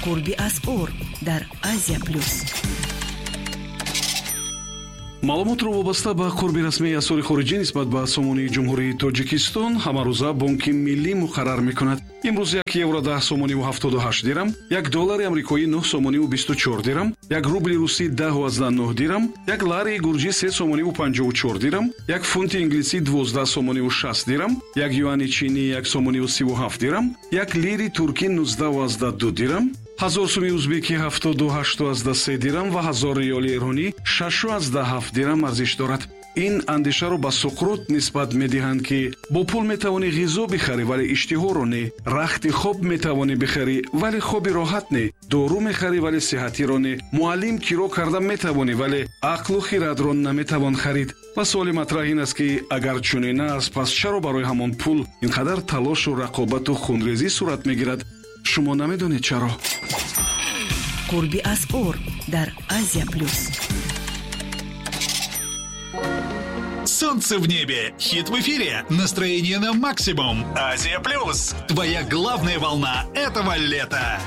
Қурби асъор дар Азия Плюс. Маълумотро вобаста ба қурби расмии асъори хориҷӣ нисбат ба сомонии Ҷумҳурии Тоҷикистон ҳамарӯза Бонки Миллӣ муқаррар мекунад. Имрӯз 1 евро 10 сомониву 78 дирам, 1 доллари амрикоӣ 9 сомониву 24 дирам, 1 рубли русӣ 10,9 дирам, 1 ларии гурҷӣ 3 сомониву 54 дирам, 1 фунти инглисӣ 12 сомониву 60 дирам, 1 юани чинӣ 1 сомониву 37 дирам, 1 лири туркӣ 19,2 дирам, 1000 суми узбекӣ 78,3 дирам ва 1000 риёли эронӣ 6,7 дирам арзиш дорад. Ин андешаро ба Суқрот нисбат медиҳанд, ки бо пул метавонӣ ғизо бихарӣ, вале иштиҳоро не, рахти хоб метавонӣ бихарӣ, вале хоби роҳат не, дору мехарӣ, вале сиҳатиро не, муаллим киро карда метавонӣ, вале ақлу хирадро наметавон харид. Ва суоли матраҳ ин аст, ки агар чунин аст, пас чаро барои ҳамон пул ин қадар талошу рақобату хунрезӣ сурат мегирад? Шумо намедонед чаро? Қурби асъор дар Азия Плюс. Солнце в небе, хит в эфире, настроение на максимум. Азия Плюс. Твоя главная волна этого лета.